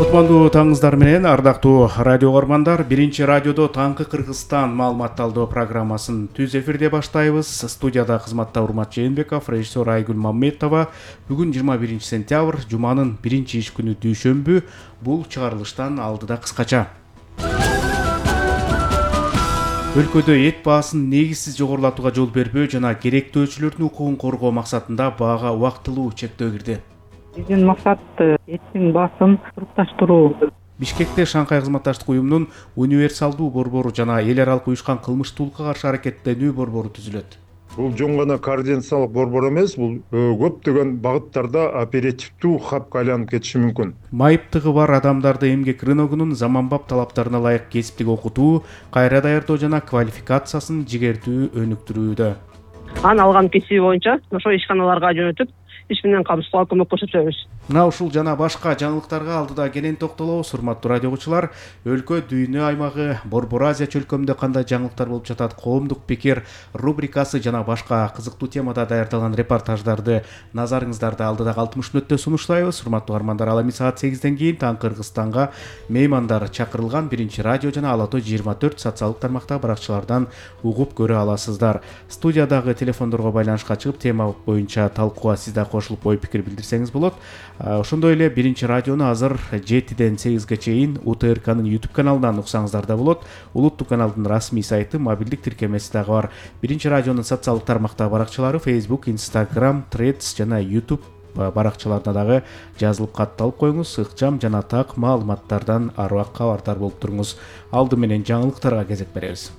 Кутмандуу таңыңыздар менен ардактуу радио көрөрмандар, биринчи радиодо Таңкы Кыргызстан маалыматталдоо программасын түз эфирде баштайбыз. Студияда кызматта Урмат Жээнбеков, режиссер Айгүл Мамметова. Бүгүн 21 сентябрь, жуманын биринчи иш күнү дүйшөмбү. Бул чыгарылыштан алдыда кыскача. Өлкөдө эт баасын негизсиз жогорулатууга жол бербөө жана керектөөчүлөрдүн укугун коргоо максатында баага убактылуу чектөө кирди. Биздин максат эттин баасын турукташтыруу. Бишкекте Шанхай кызматташтык уюмунун универсалдуу борбору жана эл аралык уюшкан кылмыштуулукка каршы аракеттенүү борбору түзүлөт. Бул жөн гана координациялык борбор эмес, бул көптөгөн багыттарда оперативдүү хабка айланып кетиши мүмкүн. Майыптыгы бар адамдарды эмгек рыногунун заманбап талаптарына ылайык кесиптик окутуу, кайра даярдоо жана квалификациясын жигертүү өнүктүрүүдө. Анын алган кесиби боюнча ошо ишканаларга жөнөтүп, иш менен камсыздоога көмөк көрсөтөбүз. Мына ушул жана башка жаңылыктарга алдыда кенен токтолобуз. Урматтуу радио угуучулар, өлкө дүйнө аймагы, Борбор Азия чөлкөмүндө кандай жаңылыктар болуп жатат, коомдук пикир рубрикасы жана башка кызыктуу темада даярдалган репортаждарды назарыңыздарда алдыдагы 60 мүнөттө сунуштайбыз. Урматтуу армандар, ал эми саат 8ден кийин Таңкы Кыргызстанга меймандар чакырылган биринчи радио жана Ала Тоо 24 социалдык тармактагы баракчалардан угуп көрө аласыздар. Студиядагы телефондорго байланышка чыгып, тема боюнча талкууга сиз да кошулуп ой пикир билдирсеңиз болот. Ошондой эле биринчи радиону азыр 7ден 8ге чейин УТРКнын YouTube каналынан уксаңыздар да болот. Улуттук каналдын расмий сайты, мобилдик тиркемеси дагы бар. Биринчи радионун социалдык тармактагы баракчалары Facebook, Instagram, Threads жана YouTube баракчаларына дагы жазылып катталып коюңуз. Ыкчам жана так маалыматтардан аруак кабардар болуп туруңуз. Алды менен жаңылыктарга кезек беребиз.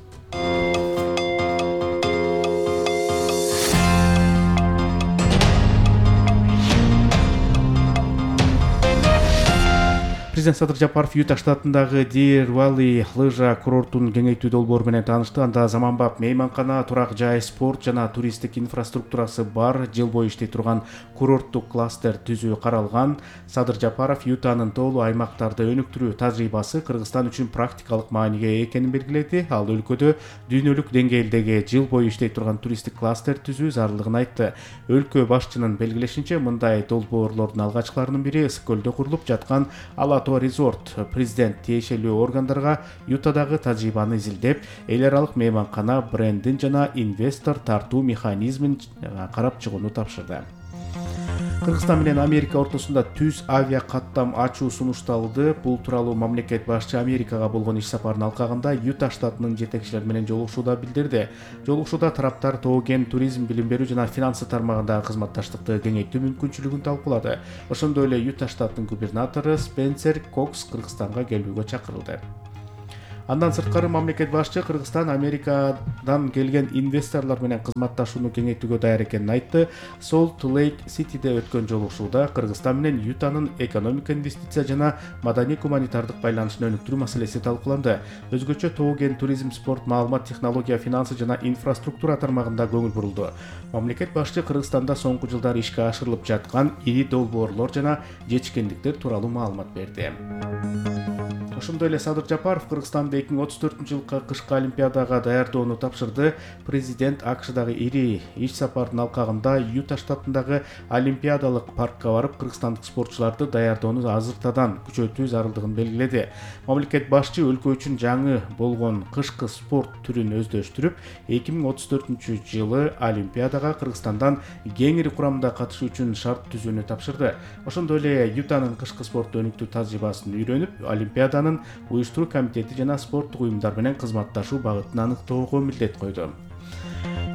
Президент Садыр Жапаров Юта штатындагы Deer Valley лыжа курортун кеңейтүү долбоору менен таанышты. Анда заманбап мейманкана, турак жай, спорт жана туристтик инфраструктурасы бар, жыл бою иштей турган курорттук кластер түзүү каралган. Садыр Жапаров Ютанын тоолуу аймактарды өнүктүрүү тажрыйбасы Кыргызстан үчүн практикалык мааниге экенин белгиледи. Ал өлкөдө дүйнөлүк деңгээлдеги жыл бою иштей турган туристтик кластер түзүү зарылдыгын айтты. Өлкө башчынын белгилешинче, мындай долбоорлордун алгачкыларынын бири Ысык көлдө курулуп жаткан Ала Тоо резорт. Президент тиешелүү органдарга Ютадагы тажрыйбаны изилдеп, эл аралык мейманкана брендин жана инвестор тартуу механизмин карап чыгууну тапшырды. Кыргызстан менен Америка ортосунда түз авиа каттам ачуу сунушталды. Бул тууралуу мамлекет башчы Америкага болгон иш сапарынын алкагында Юта штатынын жетекчилери менен жолугушууда билдирди. Жолугушууда тараптар тоо-кен туризм, билим берүү жана финансы тармагындагы кызматташтыкты кеңейтүү мүмкүнчүлүгүн талкуулады. Ошондой эле Юта штатынын губернатору Спенсер Кокс Кыргызстанга келүүгө чакырылды. Андан сырткары мамлекет башчы Кыргызстан Америкадан келген инвесторлор менен кызматташууну кеңейтүүгө даяр экенин айтты. Солт Лейк Ситиде өткөн жолугушууда Кыргызстан менен Ютанын экономика, инвестиция жана маданий-гуманитардык байланышын өнүктүрүү маселеси талкууланды. Өзгөчө тоо-кен туризм, спорт, маалымат, технология, финансы жана инфраструктура тармагында көңүл бурулду. Мамлекет башчы Кыргызстанда соңку жылдары ишке ашырылып жаткан ири долбоорлор жана жетишкендиктер тууралуу маалымат берди. Ошондой эле Садыр Жапаров Кыргызстанды 2034-жылкы кышкы олимпиадага даярдоону тапшырды. Президент АКШдагы ири иш сапардын алкагында Юта штатындагы олимпиадалык паркка барып, кыргызстандык спортчуларды даярдоону азыртадан күчөтүү зарылдыгын белгиледи. Мамлекет башчы өлкө үчүн жаңы болгон кышкы спорт түрүн өздөштүрүп, 2034-жылы олимпиадага Кыргызстандан кеңири курамда катышуу үчүн шарт түзүүнү тапшырды. Ошондой эле Ютанын кышкы спортту өнүктүү тажрыйбасын үйрөнүп, олимпиаданын уюштуруу комитети жана спорттук уюмдар менен кызматташуу багытын аныктоого милдет койду.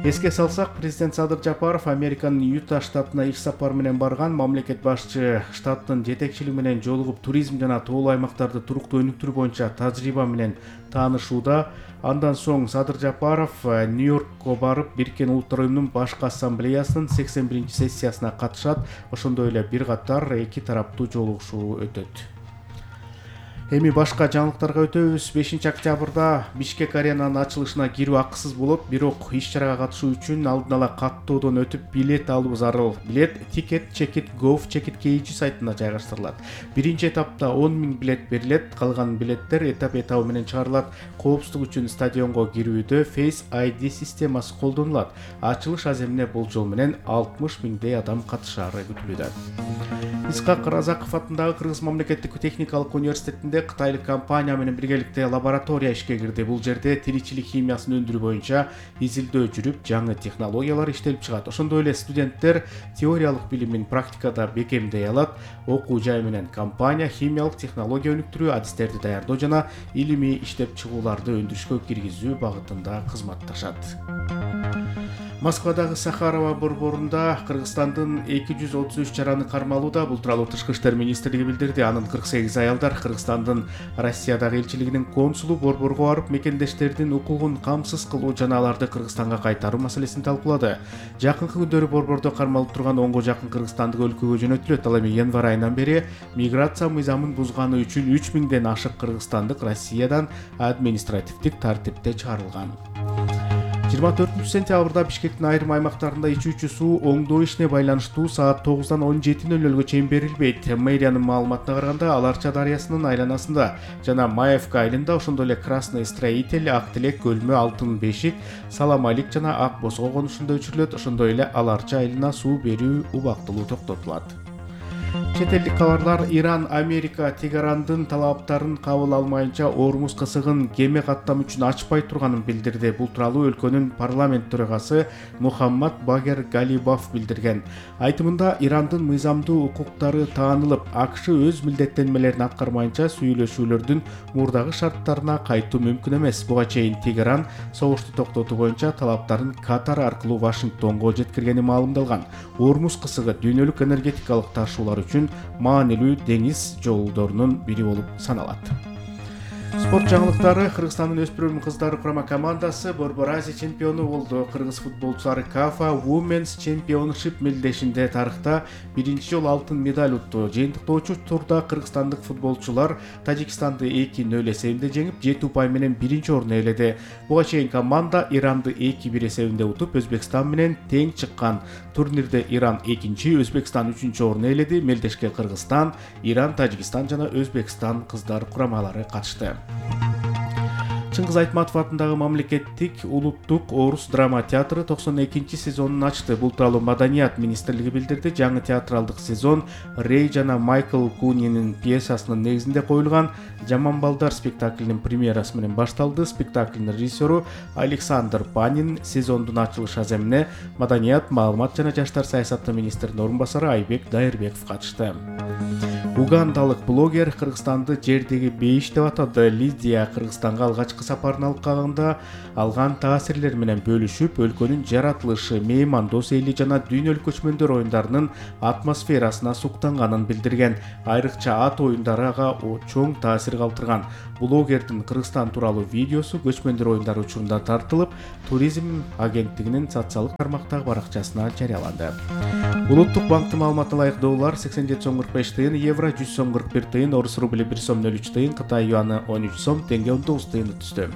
Эске салсак, президент Садыр Жапаров Американын Юта штатына иш сапар менен барган. Мамлекет башчы штаттын жетекчилиги менен жолугуп, туризм жана тоолуу аймактарды туруктуу өнүктүрүү боюнча тажрыйба менен таанышууда. Андан соң Садыр Жапаров Нью-Йоркко барып, Бириккен Улуттар уюмунун башкы ассамблеясынын 81-сессиясына катышат. Ошондой эле бир катар эки тараптуу жолугушуу өтөт. Эми башка жаңылыктарга өтөбүз. 5-октябрда Бишкек аренанын ачылышына кирүү акысыз болот, бирок иш-чарага катышуу үчүн алдын ала каттоодон өтүп билет алуу зарыл. Билет Ticket Check-it Gov Check-it KG сайтына жайгаштырылат. Биринчи этапта 10 000 билет берилет, калган билеттер этап-этабы менен чыгарылат. Коопсуздук үчүн стадионго кирүүдө Face ID системасы колдонулат. Ачылыш аземине болжол менен 60 000 адам катышары күтүлүүдө. Исхак Разаков атындагы Кыргыз мамлекеттик техникалык университетинде кытайлык компания менен биргеликте лаборатория ишке кирди. Бул жерде тиричилик химиясын өндүрүү боюнча изилдөө жүрүп, жаңы технологиялар иштелип чыгат. Ошондой эле студенттер теориялык билимин практикада бекемдей алат. Окуу жай менен компания химиялык технология өнүктүрүү, адистерди даярдоо жана илимий иштеп чыгууларды өндүрүшкө киргизүү багытында кызматташат. Москвадагы Сахарова борборунда Кыргызстандын 233 жараны кармалууда. Бул тууралуу Тышкы иштер министрлиги билдирди. Анын 48 аялдар Кыргызстандын Россиядагы элчилигинин консулу борборго барып, мекендештердин укугун камсыз кылуу жана аларды Кыргызстанга кайтаруу маселесин талкуулады. Жакынкы күндөрү борбордо кармалып турган 10го жакын кыргызстандык өлкөгө жөнөтүлөт. Ал эми январь айынан бери миграция мыйзамын бузганы үчүн 3000ден ашык кыргызстандык Россиядан административдик тартипте чыгарылган. 24-сентябрда Бишкектин айрым аймактарында ичүүчү суу оңдоо ишине байланыштуу саат 9-дан 17:00 чейин берилбейт. Мэриянын маалыматына караганда, Аларча дарыясынын айланасында жана Маевка айылында, ошондой эле Красный Строитель, Ак Тилек, Көлмө, Алтын Бешик, Саламалик жана Ак Босго конушунда өчүрүлөт. Ошондой эле Аларча айылына суу берүү убактылуу токтотулат. Чет элдик кабарлар. Иран, Америка Тегерандын талаптарын кабыл алмайынча Ормуз кысыгын кеме каттам үчүн ачпай турганын билдирди. Бул тууралуу өлкөнүн парламент төрагасы Мухаммад Багер Галибов билдирген. Айтымында, Ирандын мыйзамдуу укуктары таанылып, АКШ өз милдеттенмелерин аткармайынча сүйлөшүүлөрдүн мурдагы шарттарына кайтуу мүмкүн эмес. Буга чейин Тегеран согушту токтотуу боюнча талаптарын Катар аркылуу Вашингтонго жеткиргени маалымдалган. Ормуз кысыгы дүйнөлүк энергетикалык ташуулар үчүн маанилүү деңиз жолдорунун бири болуп саналат. Спорт жаңылыктары. Кыргызстандын өспүрүм кыздары курама командасы Борбор Азия чемпиону болду. Кыргыз футболчулары КАФА Women's Championship мелдешинде тарыхта биринчи жолу алтын медаль утту. Жыйынтыктоочу турда кыргызстандык футболчулар Тажикстанды 2-0 эсебинде жеңип, 7 упай менен биринчи орунду ээледи. Буга чейин команда Иранды 2-1 эсебинде утуп, Өзбекстан менен тең чыккан. Турнирде Иран 2-чи, Өзбекстан 3-чү орунду ээледи. Мелдешке Кыргызстан, Иран, Тажикстан жана Өзбекстан кыздар курамалары катышты. Чыңгыз Айтматов атындагы мамлекеттик улуттук орус драма театры 92-чи сезонун ачты. Бул тууралуу Маданият министрлиги билдирди. Жаңы театралдык сезон Рей жана Майкл Кунинин пьесасынын негизинде коюлган Жаман балдар спектаклинин премьерасы менен башталды. Спектаклдин режиссеру Александр Панин, сезондун ачылыш аземине Маданият, маалымат жана жаштар саясаты министринин орун басары Айбек Дайырбеков катышты. Угандалык блогер Кыргызстанды жердеги бейиш деп атады. Лидия Кыргызстанга алгачкы сапарын алып калганда алган таасирлер менен бөлүшүп, өлкөнүн жаратылышы, меймандос эли жана дүйнөлүк көчмөндөр оюндарынын атмосферасына суктанганын билдирген. Айрыкча ат оюндары ага чоң таасир калтырган. Блогердин Кыргызстан тууралуу видеосу көчмөндөр оюндары учурунда тартылып, туризм агенттигинин социалдык тармактагы баракчасына жарыяланды. Улуттук банктын маалыматына ылайык доллар 87 сом 45 тыйын, евро 100 сом 41 тыйын, орус рубли 1 сом 03 тыйын, Кытай юаны 13 сом, теңге 19 тыйын түстү.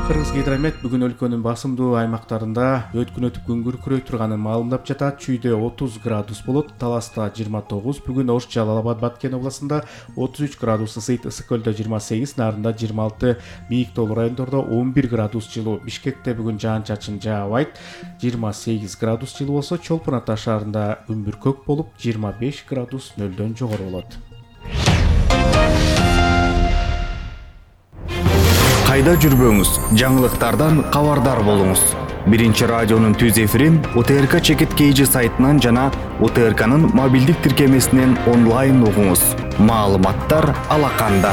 Кыргыз гидромет бүгүн өлкөнүн басымдуу аймактарында өткүн өтүп күн күркүрөй турганын маалымдап жатат. Чүйдө 30 градус болот, Таласта 29, бүгүн Ош, Жалал Абад, Баткен областында 33 градус ысыйт, Ысык көлдө 28, Нарында 26, Бийик Тоолу райондордо 11 градус жылуу. Бишкекте бүгүн жаан-чачын жаабайт, 28 градус жылуу болсо, Чолпон Ата шаарында күн бүркөк болуп 25 градус нөлдөн жогору болот. Кайда жүрбөңүз, жаңылыктардан кабардар болуңуз. Биринчи радионун түз эфирин УТРК Чекит KG сайтынан жана УТРКнын мобилдик тиркемесинен онлайн угуңуз. Маалыматтар алаканда.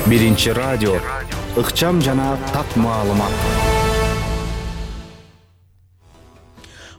Биринчи радио, ыкчам жана так маалымат.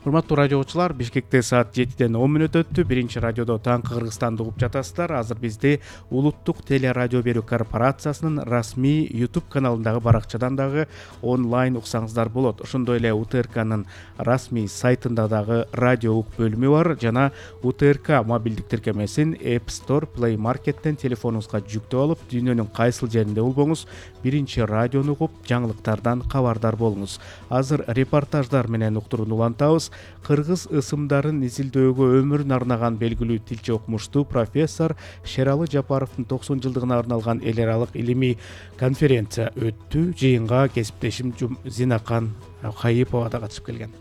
Урматтуу радиочулар, Бишкекте саат 7-ден 10 мүнөт өттү. Биринчи радиодо таңкы Кыргызстанды угуп жатасыздар. Азыр бизди Улуттук теле радио берүү корпорациясынын расмий YouTube каналындагы баракчадан дагы онлайн уксаңыздар болот. Ошондой эле УТРКнын расмий сайтында дагы радио ук бөлүмү бар жана УТРК мобилдик тиркемесин App Store, Play Market'тен телефонуңузга жүктөп алып, дүйнөнүн кайсыл жеринде болбоңуз, биринчи радиону угуп, жаңылыктардан кабардар болуңуз. Азыр репортаждар менен уктурууну улантабыз. Кыргыз ысымдарын изилдөөгө өмүрүн арнаган белгилүү тилчи окумуштуу профессор Шералы Жапаровдун 90 жылдыгына арналган эл аралык илимий конференция өттү. Жыйынга кесиптешим Зинакан Кайыпова да катышып келген.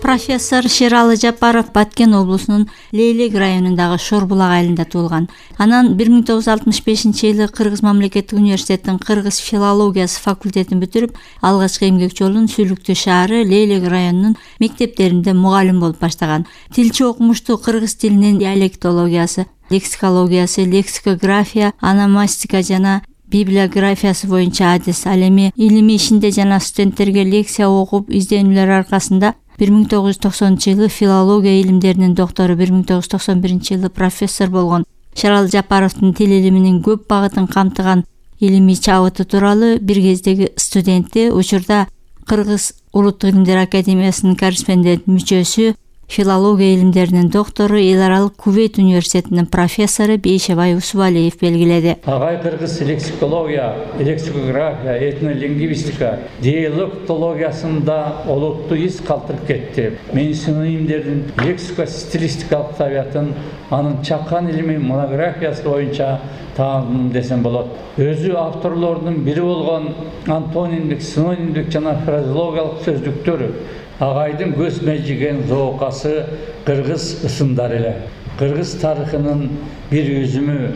Профессор Шералы Жапаров Баткен облусунун Лейлек районундагы Шорбулак айылында туулган. Анан 1965-жылы Кыргыз мамлекеттик университетинин кыргыз филологиясы факультетин бүтүрүп, алгачкы эмгек жолун Сүлүктүү шаары Лейлек районунун мектептеринде мугалим болуп баштаган. Тилчи окумуштуу кыргыз тилинин диалектологиясы, лексикологиясы, лексикография, ономастика жана библиографиясы боюнча адис. Ал эми илимий ишинде жана студенттерге лекция окуп изденүүлөр аркасында 1990-жылы филология илимдеринин доктору, 1991-жылы профессор болгон Шералы Жапаровдун тил илиминин көп багытын камтыган илимий чабыты тууралуу бир кездеги студенти, учурда Кыргыз Улуттук илимдер академиясынын корреспондент мүчөсү, филология илимдеринин доктору, эл аралык Кувейт университетинин профессору Бейшебай Усубалиев белгиледи. Агай кыргыз лексикология, лексикография, этнолингвистика, диалектологиясында олуттуу из калтырып кетти. Мен синонимдердин лексико-стилистикалык табиятын анын чакан илими монографиясы боюнча таандым десем болот. Өзү авторлордун бири болгон антонимдик, синонимдик жана фразеологиялык сөздүктөр агайдын көз межиген зоокасы кыргыз ысымдары эле. Кыргыз тарыхынын бир үзүмү,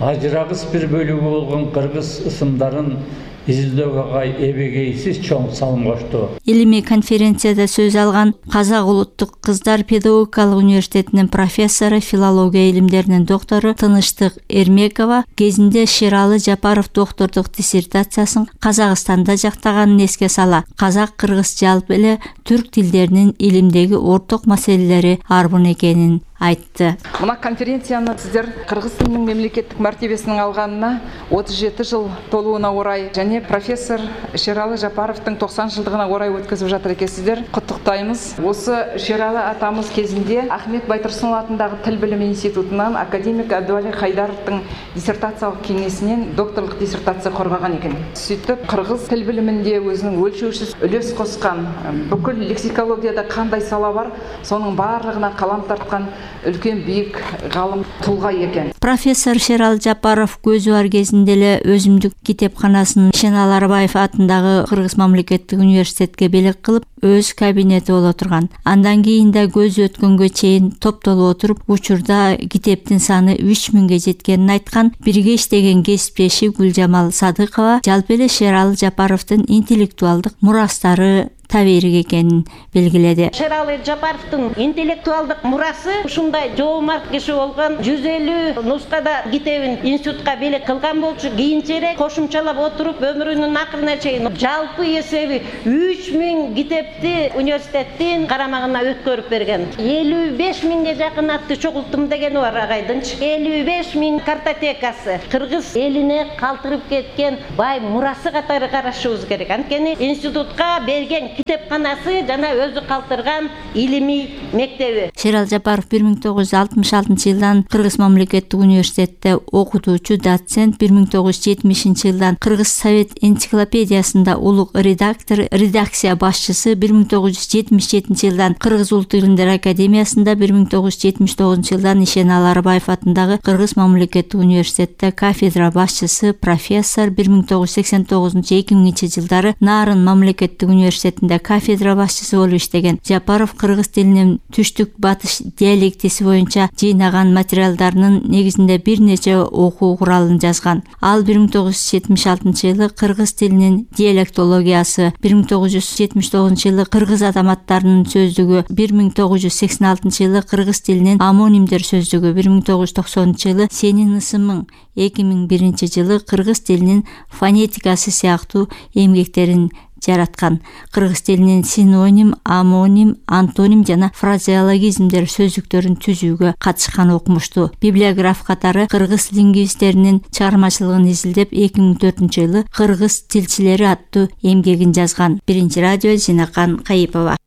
ажырагыс бир бөлүгү болгон кыргыз ысымдарын изилдөөгө агай эбегейсиз чоң салым кошту. Илимий конференцияда сөз алган Казак улуттук кыздар педагогикалык университетинин профессору, филология илимдеринин доктору Тыныштык Эрмекова кезинде Шералы Жапаров доктордук диссертациясын Казакстанда жактаганын эске сала, казак-кыргыз жалпы эле түрк тилдеринин илимдеги орток маселелери арбын экенин айтты. Мына конференцияны сиздер кыргыз тилинин мемлекеттик мартебесин алганына 37 жыл толууна орай және профессор Шералы Жапаровдун 90 жылдыгына орай өткөзүп жатыр экенсиздер. Куттуктайбыз. Осы Шералы атамыз кезинде Ахмет Байтурсунов атындагы Тил билими институтунан академик Абдували Хайдаровдун диссертациялык кеңесинен докторлук диссертация коргогон экен. Сүйтүп кыргыз тил билиминде өзүнүн өлчөөсүз үлөс коскан, бүкүл лексикологияда кандай сала бар, сонун баардыгына калам тарткан үлкен бийик галым тулга экен. Профессор Шералы Жапаров көзү бар кезинде эле өзүмдүк китепканасын Шенал Арбаев атындагы Кыргыз мамлекеттик университетке белек кылып, өз кабинети боло турган. Андан кийин да көзү өткөнгө чейин топтолуп отуруп, учурда китептин саны 3000ге жеткенин айткан бирге иштеген кесиптеши Гүлжамал Садыкова жалпы эле Шералы Жапаровдун интеллектуалдык мурастары табирик экенин белгиледи. Шералы Жапаровдун интеллектуалдык мурасы ушундай жоомарт киши болгон, 150 нускада китебин институтка белек кылган болчу, кийинчерээк кошумчалап отуруп өмүрүнүн акырына чейин жалпы эсеби 3000 китепти университеттин карамагына өткөрүп берген. 55.000ге жакын атты чогулттум дегени бар агайдынчы. 55.000 картотекасы кыргыз элине калтырып кеткен бай мурасы катары карашыбыз керек. Анткени институтка берген китепканасы жана өзү калтырган илимий мектеби. Шералы Жапаров 1966-жылдан Кыргыз мамлекеттик университетте окутуучу, доцент, 1970-жылдан Кыргыз совет энциклопедиясында улук редактор, редакция башчысы, 1977-жылдан Кыргыз улуттук илимдер академиясында, 1979-жылдан Шенал Арбаев атындагы Кыргыз мамлекеттик университетте кафедра башчысы, профессор, 1989-2000 жылдары Нарын мамлекеттик университетинде кафедра башчысы болуп иштеген. Жапаров кыргыз тилинин түштүк батыш диалектиси боюнча жыйнаган материалдарынын негизинде бир нече окуу куралын жазган. Ал 1976-жылы кыргыз тилинин диалектологиясы, 1979-жылы кыргыз адаматтарынын сөздүгү, 1986-жылы кыргыз тилинин амонимдер сөздүгү, 1990-жылы Сенин ысымың, 2001-жылы кыргыз тилинин фонетикасы сыяктуу эмгектерин жараткан. Кыргыз тилинин синоним, амоним, антоним жана фразеологизмдер сөздүктөрүн түзүүгө катышкан окумуштуу. Библиограф катары кыргыз лингвисттеринин чыгармачылыгын изилдеп, 2004-жылы Кыргыз тилчилери аттуу эмгегин жазган. Биринчи радио Зинакан Кайыпова.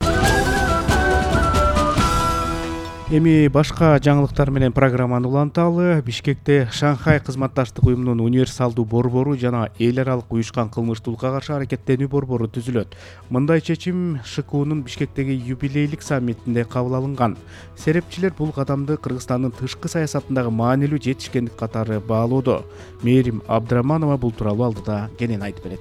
Эми башка жаңылыктар менен программаны уланталы. Бишкекте Шанхай кызматташтык уюмунун универсалдуу борбору жана эл аралык уюшкан кылмыштуулукка каршы аракеттенүү борбору түзүлөт. Мындай чечим ШКУнун Бишкектеги юбилейлик саммитинде кабыл алынган. Серепчилер бул кадамды Кыргызстандын тышкы саясатындагы маанилүү жетишкендик катары баалоодо. Мээрим Абдыраманова бул тууралуу алдыда кенен айтып берет.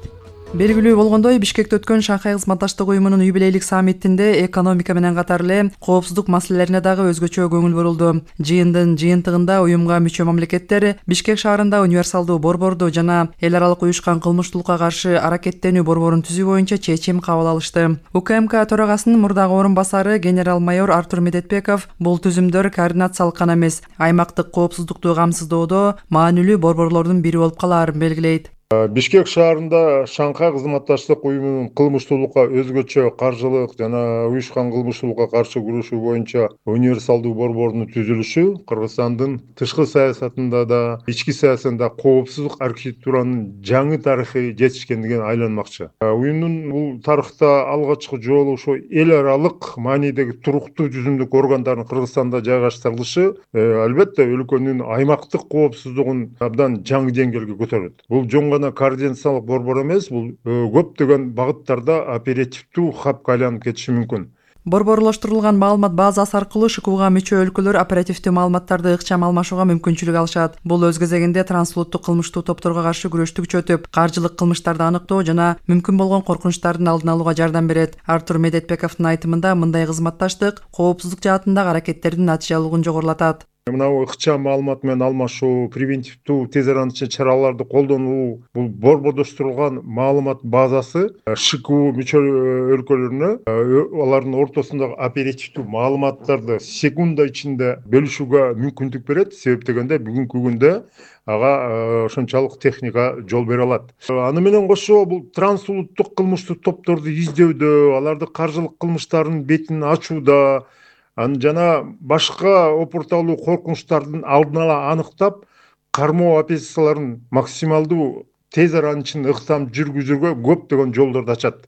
Белгилүү болгондой, Бишкекте өткөн Шанхай кызматташтык уюмунун юбилейлик саммитинде экономика менен катар эле коопсуздук маселелерине дагы өзгөчө көңүл бурулду. Жыйындын жыйынтыгында уюмга мүчө мамлекеттер Бишкек шаарында универсалдуу борборду жана эл аралык уюшкан кылмыштуулукка каршы аракеттенүү борборун түзүү боюнча чечим кабыл алышты. УКМК төрагасынын мурдагы орун басары генерал-майор Артур Медетбеков бул түзүмдөр координациялык гана эмес, аймактык коопсуздукту камсыздоодо маанилүү борборлордун бири болуп калаарын белгилейт. Бишкек шаарында Шанхай кызматташтык уюмунун кылмыштуулукка өзгөчө каржылык жана уюшкан кылмыштуулукка каршы күрөшүү боюнча универсалдуу борбордун түзүлүшү Кыргызстандын тышкы саясатында да, ички саясатында коопсуздук архитектуранын жаңы тарыхый жетишкендигин айланмакчы. Уюмдун бул тарыхта алгачкы жолу ошо эл аралык маанидеги туруктуу түзүмдүк органдардын Кыргызстанда жайгаштырылышы албетте өлкөнүн аймактык коопсуздугун абдан жаңы деңгээлге көтөрөт. Бул координациялык борбор эмес, бул көптөгөн багыттарда оперативдүү хабка айланып кетиши мүмкүн. Борборлоштурулган маалымат базасы аркылуу ШКУга мүчө өлкөлөр оперативдүү маалыматтарды ыкчам алмашууга мүмкүнчүлүк алышат. Бул өз кезегинде трансулуттук кылмыштуу топторго каршы күрөштү күчөтүп, каржылык кылмыштарды аныктоо жана мүмкүн болгон коркунучтардын алдын алууга жардам берет. Артур Медетбековдун айтымында мындай кызматташтык коопсуздук жаатындагы аракеттердин натыйжалуулугун жогорулатат. Мынау ыкчам маалымат менен алмашуу, превентивдүү тез арача чараларды колдонуу, бул борбордоштурулган маалымат базасы ШКУ мүчө өлкөлөрүнө алардын ортосундагы оперативдүү маалыматтарды секунда ичинде бөлүшүүгө мүмкүндүк берет. Себеп дегенде бүгүнкү күндө ага ошончолук техника жол бере алат. Аны менен кошо бул трансулуттук кылмыштуу топторду издөөдө, аларды каржылык кылмыштардын бетин ачууда, жана башка опурталуу коркунучтардын алдын ала аныктап, кармоо операцияларын максималдуу тез аранын ичинде ыктам жүргүзүүгө көптөгөн жолдорду ачат.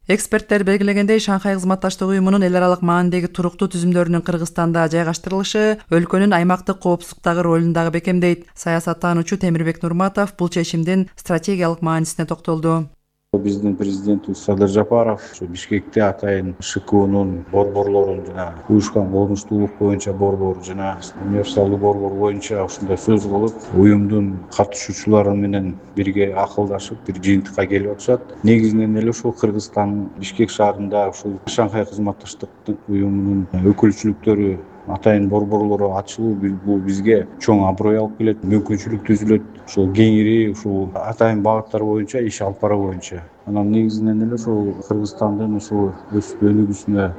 Эксперттер белгилегендей, Шанхай кызматташтык уюмунун эл аралык маанидеги туруктуу түзүмдөрүнүн Кыргызстанда жайгаштырылышы өлкөнүн аймактык коопсуздуктагы ролун дагы бекемдейт. Саясаттануучу Темирбек Нурматов бул чечимдин стратегиялык маанисине токтолду. Биздин президентибиз Садыр Жапаров Бишкекте атайын ШКУнун борборлорун жана уюшкан кылмыштуулук боюнча борбор жана универсалдуу борбор боюнча ушундай сөз кылып, уюмдун катышуучулары менен бирге акылдашып, бир жыйынтыкка келип атышат. Негизинен эле ушул Кыргызстан Бишкек шаарында ушул Шанхай кызматташтык уюмунун өкүлчүлүктөрү атайын борборлору ачылуу бул бизге чоң аброй алып келет, мүмкүнчүлүк түзүлөт. Ушул кеңири ушул атайын багыттар боюнча иш алып баруу боюнча. Анан негизинен эле ушул Кыргызстандын ушул өсүп өнүгүүсүнө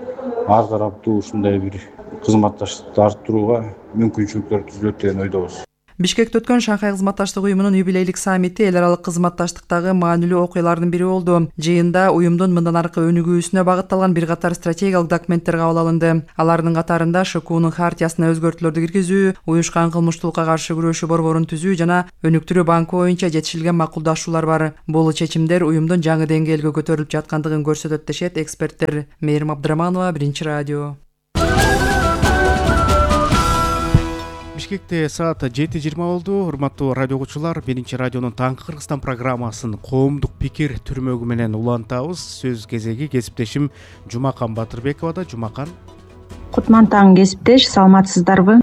ар тараптуу ушундай бир кызматташтыкты арттырууга мүмкүнчүлүктөр түзүлөт деген ойдобуз. Бишкекте өткөн Шанхай кызматташтык уюмунун юбилейлик саммити эл аралык кызматташтыктагы маанилүү окуялардын бири болду. Жыйында уюмдун мындан аркы өнүгүүсүнө багытталган бир катар стратегиялык документтер кабыл алынды. Алардын катарында ШКУнун хартиясына өзгөртүүлөрдү киргизүү, уюшкан кылмыштуулукка каршы күрөшүү борборун түзүү жана өнүктүрүү банкы боюнча жетишилген макулдашуулар бар. Бул чечимдер уюмдун жаңы деңгээлге көтөрүлүп жаткандыгын көрсөтөт дешет эксперттер. Мээрим Абдыраманова, Биринчи радио. Бишкекте саат 7:20 болду. Урматтуу радио окуучулар, Биринчи радионун Таңкы Кыргызстан программасын коомдук пикир түрмөгү менен улантабыз. Сөз кезеги кесиптешим Жумакан Батырбековада. Жумакан. Кутман таң кесиптеш, саламатсыздарбы?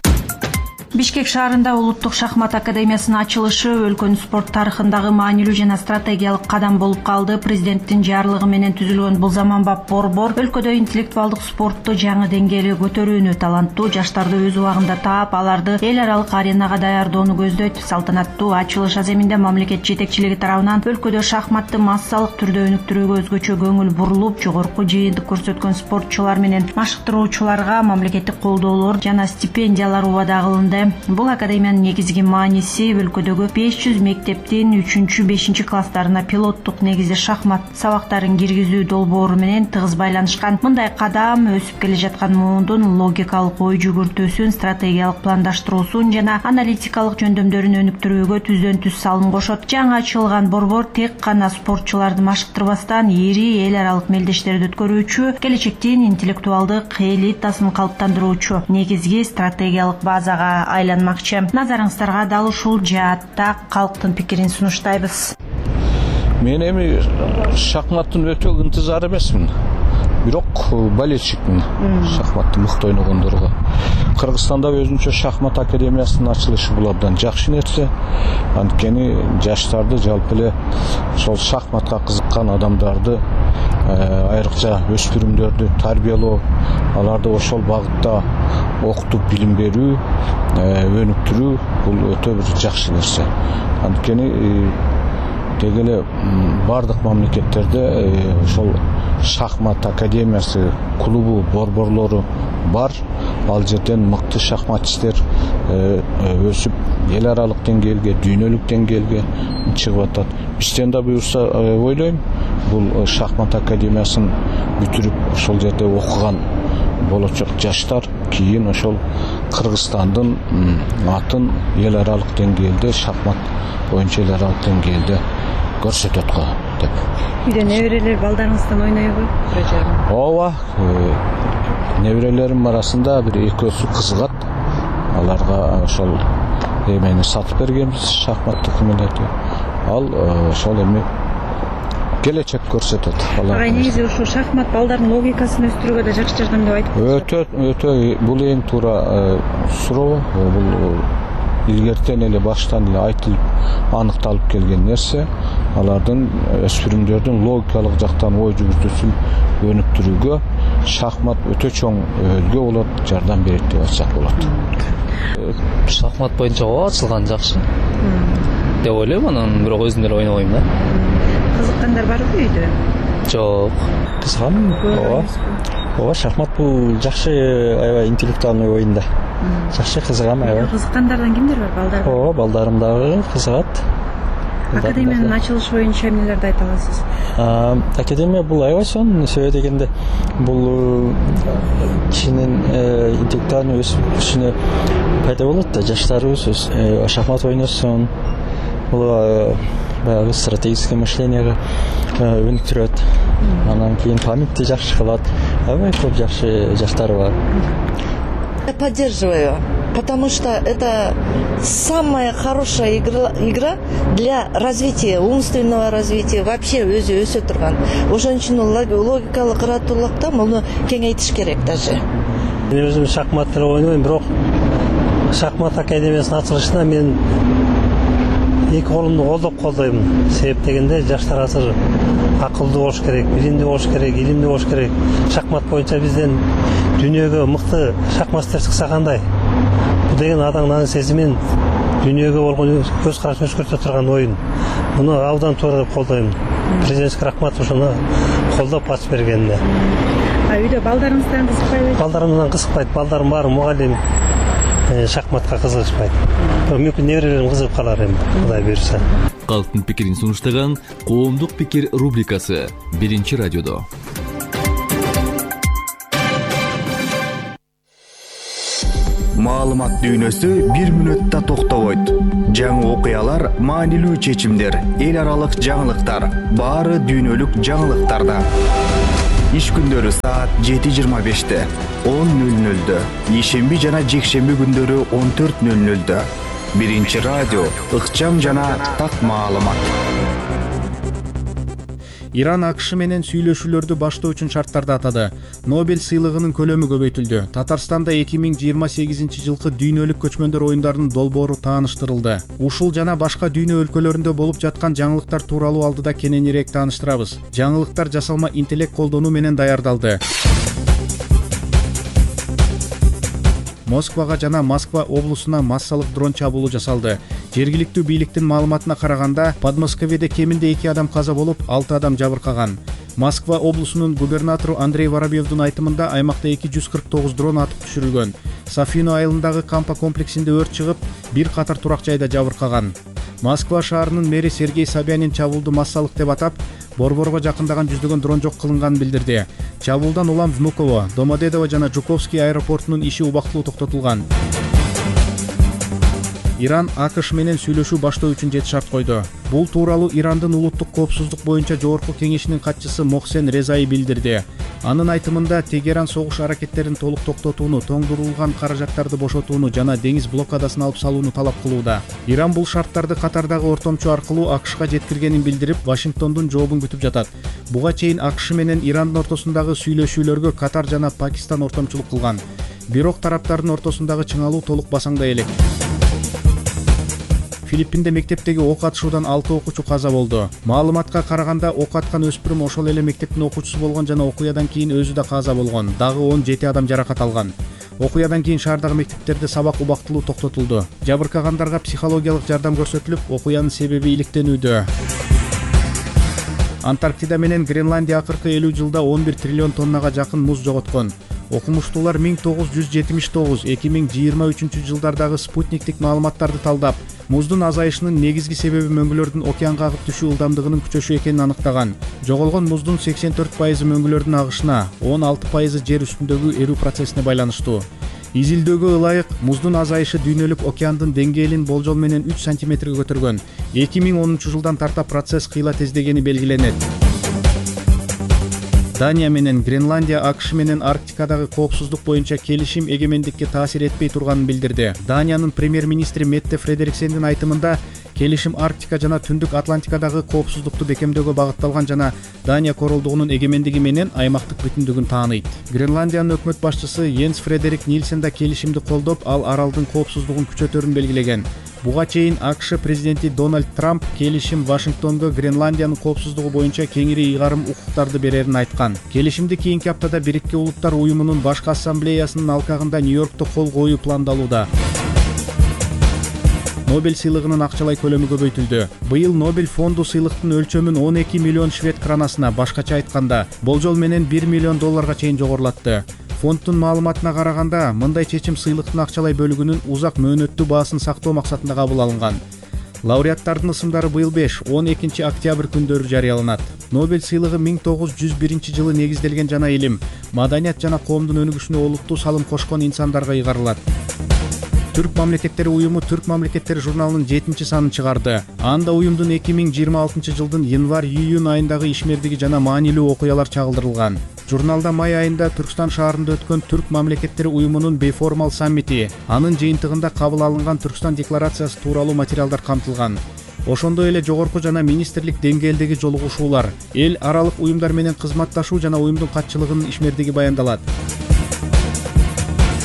Бишкек шаарында улуттук шахмат академиясынын ачылышы өлкөнүн спорт тарыхындагы маанилүү жана стратегиялык кадам болуп калды. Президенттин жарлыгы менен түзүлгөн бул заманбап борбор өлкөдө интеллектуалдык спортту жаңы деңгээлге көтөрүүнү, таланттуу жаштарды өз убагында таап, аларды эл аралык аренага даярдоону көздөйт. Салтанаттуу ачылыш аземинде мамлекет жетекчилиги тарабынан өлкөдө шахматты массалык түрдө өнүктүрүүгө өзгөчө көңүл бурулуп, жогорку жыйынтык көрсөткөн спортчулар менен машыктыруучуларга мамлекеттик колдоолор жана стипендиялар убада кылынды. Бул академиянын негизги мааниси өлкөдөгү 500 мектептин 3-5 класстарына пилоттук негизде шахмат сабактарын киргизүү долбоору менен тыгыз байланышкан. Мындай кадам өсүп келе жаткан муундун логикалык ой жүгүртүүсүн, стратегиялык пландаштыруусун жана аналитикалык жөндөмдөрүн өнүктүрүүгө түздөн түз салым кошот. Жаңы ачылган борбор тек гана спортчуларды машыктырбастан, ири эл аралык мелдештерди өткөрүүчү, келечектин интеллектуалдык элитасын калыптандыруучу негизги стратегиялык базага айланмакчы. Назарыңыздарга дал ушул жаатта калктын пикирин сунуштайбыз. Мен эми шахматтын өтө ынтызар эмесмин. бирок болельщикмин, шахматты мыкты ойногондорго. Кыргызстанда өзүнчө шахмат академиясынын ачылышы бул абдан жакшы нерсе. Анткени жаштарды жалпы эле ошол шахматка кызыккан адамдарды, айрыкча өспүрүмдөрдү тарбиялоо, аларды ошол багытта окутуп билим берүү, өнүктүрүү бул өтө бир жакшы нерсе. Анткени деги эле бардык мамлекеттерде ошол шахмат академиясы, клубу, борборлору бар. Ал жерден мыкты шахматчистер өсүп эл аралык деңгээлге, дүйнөлүк деңгээлге чыгып атат. Бизден да буюрса ойлойм, бул шахмат академиясын бүтүрүп ошол жерде окуган болочок жаштар кийин ошол Кыргызстандын атын эл аралык деңгээлде, шахмат боюнча эл аралык деңгээлде көрсөтөт го деп. Үйдө неберелер балдарыңыздан ойнойбу? Ооба, неберелерим арасында бир экөөсү кызыгат. Аларга ошол эмени сатып бергенбиз, шахматтык эмелерди. Ал ошол эми келечек көрсөтөт. Ага, негизи ушул шахмат балдардын логикасын өстүрүүгө да жакшы жардам деп айтып атасыз. Өтө бул эң туура суроо. Бул илгертен эле баштан эле айтылып, аныкталып келген нерсе. Алардын өспүрүмдөрдүн логикалык жактан ой жүгүртүүсүн өнүктүрүүгө шахмат өтө чоң өлгө болот, жардам берет деп айтсак болот. Шахмат боюнча ачылган жакшы деп ойлойм, анан бирок өзүм деле ойнобойм да. Кызыккандар барбы үйдө? Жок, кызыгам. Ооба, шахмат бул жакшы, аябай интеллектуальный оюн да. Жакшы кызыгам, аябай. Кызыккандардан кимдер бар, балдар? Ооба, балдарым дагы кызыгат. Академиянын ачылышы боюнча эмнелерди айта аласыз? Академия бул аябай сонун, себеби дегенде бул кишинин интеллектуальный өсүшүнө пайда болот да, жаштарыбыз шахмат ойносун, бул баягы стратегическое мышлениеге өнүктүрөт. Анан кийин памятти жакшы кылат. Аябай көп жакшы жаштары бар. Я поддерживаю, потому что это самая хорошая игра для развития, умственного развития, вообще өзү өсө турган. Ошончун логикалык кырааттуулукта муну кеңейтиш керек даже. Мен өзүм шахмат ойнойм, бирок шахмат академиясынын ачылышына мен эки колумду колдоп колдойм. Себеп дегенде жаштар азыр акылдуу болуш керек, билимдүү болуш керек, илимдүү болуш керек. Шахмат боюнча бизден дүйнөгө мыкты шахматчылар чыкса кандай? Бул деген адамдын сезимин, дүйнөгө болгон көз карашын өзгөртө турган оюн. Муну абдан туура деп колдойм. Президент Рахматов ушуну колдоп ачып бергенде. Үйдө балдарыңыздан кызыкпайбы? Балдарымдан кызыкпайт. Балдарым баары мугалим, шахматка кызыгышпайт. Мүмкүн неберелерим кызыгып калар эми, Кудай буйрса. Калктын пикирин сунуштаган Коомдук пикир рубрикасы Биринчи радиодо. Маалымат дүйнөсү 1 мүнөттө токтобойт. Жаңы окуялар, маанилүү чечимдер, эл аралык жаңылыктар, баары дүйнөлүк жаңылыктарда. Иш күндөрү саат 7:25, 10:00, ишемби жана жекшемби күндөрү 14:00. Биринчи радио, ыкчам жана так маалымат. Иран АКШ менен сүйлөшүүлөрдү баштоо үчүн шарттарды атады. Нобель сыйлыгынын көлөмү көбөйтүлдү. Татарстанда 2028 жылкы дүйнөлүк көчмөндөр оюндарынын долбоору тааныштырылды. Ушул жана башка дүйнө өлкөлөрүндө болуп жаткан жаңылыктар тууралуу алдыда кененирээк тааныштырабыз. Жаңылыктар жасалма интеллект колдонуу менен даярдалды. Москвага жана Москва облусуна массалык дрон чабуулу жасалды. Жергиликтүү бийликтин маалыматына караганда, Подмосковьеде кеминде 2 адам каза болуп, 6 адам жабыркаган. Москва облусунун губернатору Андрей Воробьевдун айтымында аймакта 249 дрон атып түшүрүлгөн. Софино айылындагы кампа комплексинде өрт чыгып, бир катар турак жайда жабыркаган. Москва шаарынын мэри Сергей Собянин чабуулду массалык деп атап, борборго жакындаган жүздөгөн дрон жок кылынганын билдирди. Чабуулдан улам Внуково, Домодедово жана Жуковский аэропортунун иши убактылуу токтотулган. Иран АКШ менен сүйлөшүү баштоо үчүн 7 шарт койду. Бул тууралуу Ирандын улуттук коопсуздук боюнча жогорку кеңешинин катчысы Мохсен Резаи билдирди. Анын айтымында Тегеран согуш аракеттерин толук токтотууну, тоңдурулган каражаттарды бошотууну жана деңиз блокадасын алып салууну талап кылууда. Иран бул шарттарды Катардагы ортомчу аркылуу АКШга жеткиргенин билдирип, Вашингтондун жообун күтүп жатат. Буга чейин АКШ менен Ирандын ортосундагы сүйлөшүүлөргө Катар жана Пакистан ортомчулук кылган. Бирок тараптардын ортосундагы чыңалуу толук басаңдай элек. Филиппинде мектептеги ок атышуудан 6 окуучу каза болду. Маалыматка караганда ок аткан өспүрүм ошол эле мектептин окуучусу болгон жана окуядан кийин өзү да каза болгон. Дагы 17 адам жаракат алган. Окуядан кийин шаардагы мектептерде сабак убактылуу токтотулду. Жабыркагандарга психологиялык жардам көрсөтүлүп, окуянын себеби иликтенүүдө. Антарктида менен Гренландия акыркы 50 жылда 11 триллион тоннага жакын муз жоготкон. Окумуштуулар 1979-2023 жылдардагы спутниктик маалыматтарды талдап, муздун азайышынын негизги себеби мөңгүлөрдүн океанга агып түшүү ылдамдыгынын күчөшү экенин аныктаган. Жоголгон муздун 84% мөңгүлөрдүн агышына, 16% жер үстүндөгү эрүү процессине байланыштуу. Изилдөөгө ылайык муздун азайышы дүйнөлүк океандын деңгээлин болжол менен 3 сантиметрге көтөргөн. 2010 жылдан тарта процесс кыйла тездегени белгиленет. Дания менен Гренландия АКШ менен Арктикадагы коопсуздук боюнча келишим эгемендикке таасир этпей турганын билдирди. Даниянын премьер-министри Метте Фредериксендин айтымында, келишим Арктика жана Түндүк Атлантикадагы коопсуздукту бекемдөөгө багытталган жана Дания королдугунун эгемендиги менен аймактык бүтүндүгүн тааныйт. Гренландиянын өкмөт башчысы Йенс Фредерик Нильсен да келишимди колдоп, ал аралдын коопсуздугун күчөтөрүн белгилеген. Буга чейин АКШ президенти Дональд Трамп келишим Вашингтонго Гренландиянын коопсуздугу боюнча кеңири ыйгарым укуктарды берерин айткан. Келишимди кийинки аптада Бириккен Улуттар уюмунун башкы ассамблеясынын алкагында Нью-Йоркто кол коюу пландалууда. Нобель сыйлыгынын акчалай көлөмү көбөйтүлдү. Быйыл Нобель фонду сыйлыктын өлчөмүн 12 миллион швед кранасына, башкача айтканда, болжол менен 1 миллион долларга чейин жогорулатты. Фонддун маалыматына караганда, мындай чечим сыйлыктын акчалай бөлүгүнүн узак мөөнөттүү баасын сактоо максатында кабыл алынган. Лауреаттардын ысымдары быйыл 5-12 октябрь күндөрү жарыяланат. Нобель сыйлыгы 1901 жылы негизделген жана илим, маданият жана коомдун өнүгүшүнө олуттуу салым кошкон инсандарга ыйгарылат. Түрк мамлекеттери уюму Түрк мамлекеттери журналынын 7-чи санын чыгарды. Анда уюмдун 2026 жылдын январь-июнь айындагы ишмердиги жана маанилүү окуялар чагылдырылган. Журналда май айында Түркстан шаарында өткөн Түрк мамлекеттери уюмунун бейформал саммити, анын жыйынтыгында кабыл алынган Түркстан декларациясы тууралуу материалдар камтылган. Ошондой эле жогорку жана министрлик деңгээлдеги жолугушуулар, эл аралык уюмдар менен кызматташуу жана уюмдун катчылыгынын ишмердиги баяндалат.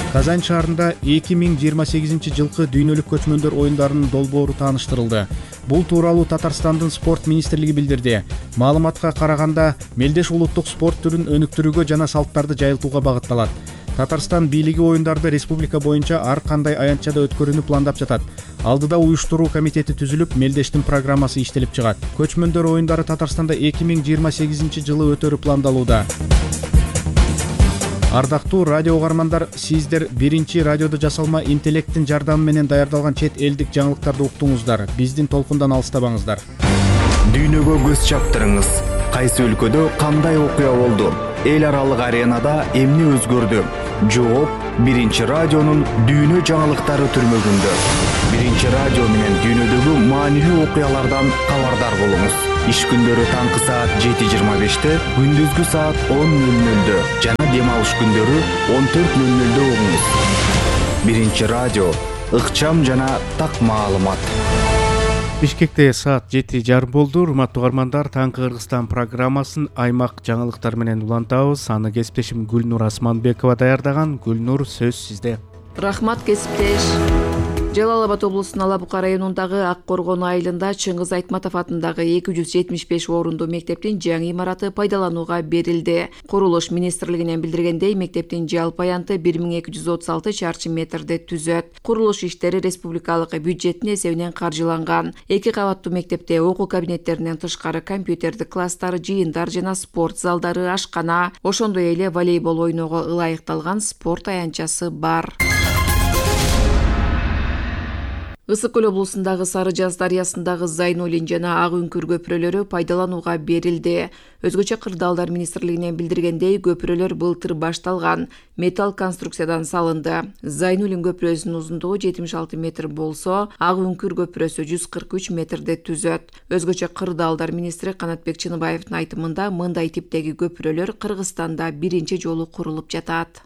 Казань шаарында 2028 жылкы дүйнөлүк көчмөндөр оюндарынын долбоору тааныштырылды. Бул тууралуу Татарстандын спорт министрлиги билдирди. Маалыматка караганда, мелдеш улуттук спорт түрүн өнүктүрүүгө жана салттарды жайылтууга багытталат. Татарстан бийлиги оюндарды республика боюнча ар кандай аянтчада өткөрүүнү пландап жатат. Алдыда уюштуруу комитети түзүлүп, мелдештин программасы иштелип чыгат. Көчмөндөр оюндары Татарстанда 2028 жылы өтөрү пландалууда. Ардактуу радио угармандар, сиздер биринчи радиодо жасалма интеллекттин жардамы менен даярдалган чет элдик жаңылыктарды уктуңуздар. Биздин толкундан алыстабаңыздар. Дүйнөгө көз чаптырыңыз. Кайсы өлкөдө кандай окуя болду? Эл аралык аренада эмне өзгөрдү? Жооп биринчи радионун дүйнө жаңылыктары түрмөгүндө. Биринчи радио менен дүйнөдөгү маанилүү окуялардан кабардар болуңуз. Иш күндөрү таңкы саат 7:25, күндүзгү саат 10:00 жана дем алыш күндөрү 14:00 угуңуз. Биринчи радио, ыкчам жана так маалымат. Бишкекте саат 7:30 болду. Урматтуу угармандар, таңкы Кыргызстан программасын аймак жаңылыктары менен улантабыз. Аны кесиптешим Гүлнур Асманбекова даярдаган. Гүлнур, сөз сизде. Рахмат, кесиптеш. Жалал Абад облусунун Ала Бука районундагы Ак Коргон айылында Чыңгыз Айтматов атындагы 275 орундуу мектептин жаңы имараты пайдаланууга берилди. Курулуш министрлигинен билдиргендей, мектептин жалпы аянты 1236 чарчы метрди түзөт. Курулуш иштери республикалык бюджеттин эсебинен каржыланган. 2 кабаттуу мектепте окуу кабинеттеринен тышкары компьютердик класстар, жыйындар жана спорт залдары, ашкана, ошондой эле волейбол ойноого ылайыкталган спорт аянтчасы бар. Ысык көл облусундагы Сары Жаз дарыясындагы Зайнулин жана Ак Үңкүр көпүрөлөрү пайдаланууга берилди. Өзгөчө Кырдаалдар министрлигинен билдиргендей, көпүрөлөр былтыр башталган, металл конструкциядан салынды. Зайнулин көпүрөсүнүн узундугу 76 метр болсо, Ак Үңкүр көпүрөсү 143 метрди түзөт. Өзгөчө Кырдаалдар министри Канатбек Чыныбаевдин айтымында, мындай типтеги көпүрөлөр Кыргызстанда биринчи жолу курулуп жатат.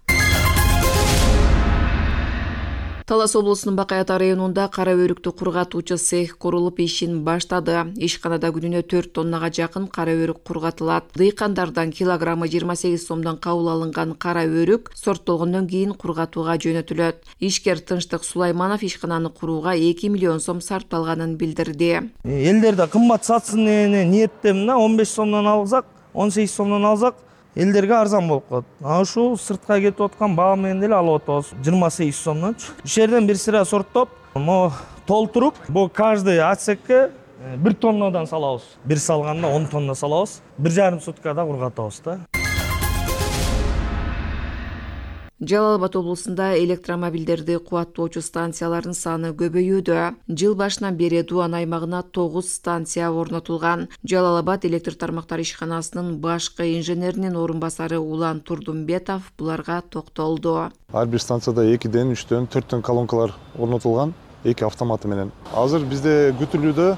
Талас облусунун Бакай Ата районунда кара өрүктү кургатуучу цех курулуп ишин баштады. Ишканада күнүнө 4 тоннага жакын кара өрүк кургатылат. Дыйкандардан килограммы 28 сомдон кабыл алынган кара өрүк сорттолгондон кийин кургатууга жөнөтүлөт. Ишкер Тынчтык Сулайманов ишкананы курууга 2 миллион сом сарпталганын билдирди. Элдерде кымбат сатсын деген ниеттемин, 15 сомдон алсак, 18 сомдон алсак, элдерге арзан болуп калат. Ушул сыртка кетип аткан баа менен деле алып атабыз. 28 сомдончу. Иш жерден бир сыра сорттоп, толтуруп, бу каждый отсекке 1 тоннадан салабыз. Бир салганда 10 тонна салабыз. 1,5 суткада кургатабыз да. Жалал Абад облусунда электромобилдерди кубаттоочу станциялардын саны көбөйүүдө. Жыл башынан бери Дуан аймагына 9 станция орнотулган. Жалал Абад электр тармактары ишканасынын башкы инженеринин орун басары Улан Турдумбетов буларга токтолду. Ар бир станцияда 2ден, 3дөн, 4дөн колонкалар орнотулган, 2 автоматы менен. Азыр бизде күтүлүүдө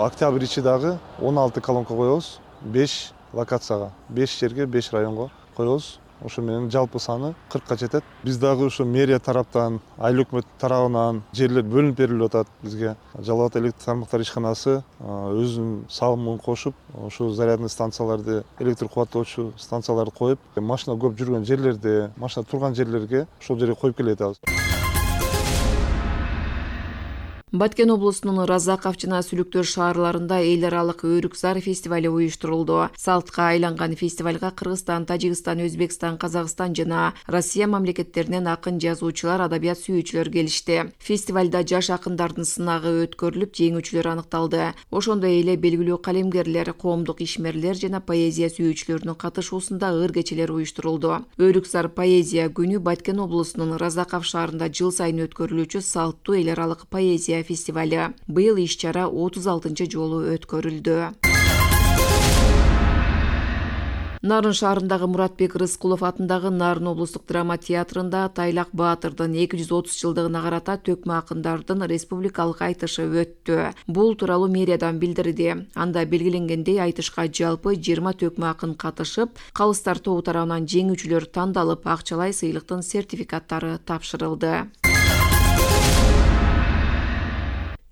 октябрь ичи дагы 16 колонка коебуз, 5 локацияга, 5 жерге, 5 районго коебуз. Ошо менен жалпы саны 40ка жетет. Биз дагы ушу мэрия тараптан, айыл өкмөт тарабынан жерлер бөлүнүп берилип атат бизге. Жалал Абад электр тармактары ишканасы өзүнүн салымын кошуп, ошо зарядный станцияларды, электр кубаттоочу станцияларды коюп, машина көп жүргөн жерлерде, машина турган жерлерге ошол жерге коюп келе жатабыз. Баткен облусунун Разаков жана Сүлүктөр шаарларында эл аралык Өрүкзар фестивали уюштурулду. Салтка айланган фестивалга Кыргызстан, Тажикстан, Өзбекстан, Казакстан жана Россия мамлекеттеринен акын жазуучулар, адабият сүйүүчүлөр келишти. Фестивалда жаш акындардын сынагы өткөрүлүп, жеңүүчүлөр аныкталды. Ошондой эле белгилүү калемгерлер, коомдук ишмерлер жана поэзия сүйүүчүлөрүнүн катышуусунда ыр кечелер уюштурулду. Өрүкзар поэзия күнү Баткен облусунун Разаков шаарында жыл сайын өткөрүлүүчү салттуу эл аралык поэзия фестивали. Быйыл иш-чара 36 жолу өткөрүлдү. Нарын шаарындагы Муратбек Рыскулов атындагы Нарын облустук драма театрында Тайлак Баатырдын 230 жылдыгына карата төкмө акындардын республикалык айтышы өттү. Бул тууралуу мэриядан билдирди. Анда белгиленгендей, айтышка жалпы 20 төкмө акын катышып, калыстар тобу тарабынан жеңүүчүлөр тандалып, акчалай сыйлыктын сертификаттары тапшырылды.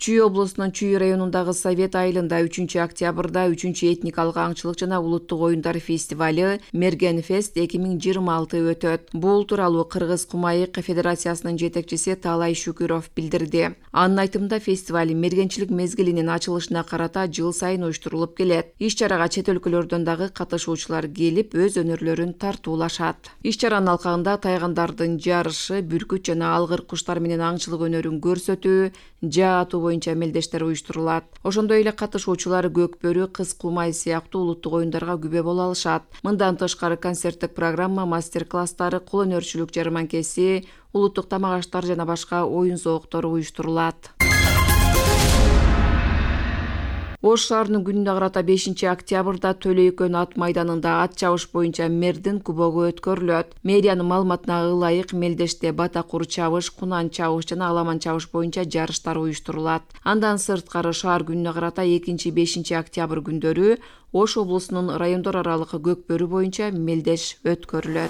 Чүй облусунун Чүй районундагы Совет айылында 3-октябрда 3-этникалык аңчылык жана улуттук оюндар фестивали Мерген Фест 2026 өтөт. Бул тууралуу Кыргыз Кумайык Федерациясынын жетекчиси Таалай Шүкүров билдирди. Анын айтымында фестиваль мергенчилик мезгилинин ачылышына карата жыл сайын уюштурулуп келет. Иш-чарага чет өлкөлөрдөн дагы катышуучулар келип, өз өнөрлөрүн тартуулашат. Иш-чаранын алкагында тайгандардын жарышы, бүркүт жана алгыр куштар менен аңчылык өнөрүн көрсөтүү, жаа атуу боюнча мелдештер уюштурулат. Ошондой эле катышуучулар көкбөрү, кыз кумай сыяктуу улуттук оюндарга күбө боло алышат. Мындан тышкары концерттик программа, мастер-класстары, кол өнөрчүлүк жарманкеси, улуттук тамак аштар жана башка оюн зооктору уюштурулат. Ош шаарынын күнүнө карата 5-октябрда Төлөйкөн ат майданында ат чабыш боюнча мэрдин кубогу өткөрүлөт. Мэриянын маалыматына ылайык мелдеште батакур чабыш, кунан чабыш жана аламан чабыш боюнча жарыштар уюштурулат. Андан сырткары шаар күнүнө карата 2-5 октябрь күндөрү Ош облусунун райондор аралык көкбөрү боюнча мелдеш өткөрүлөт.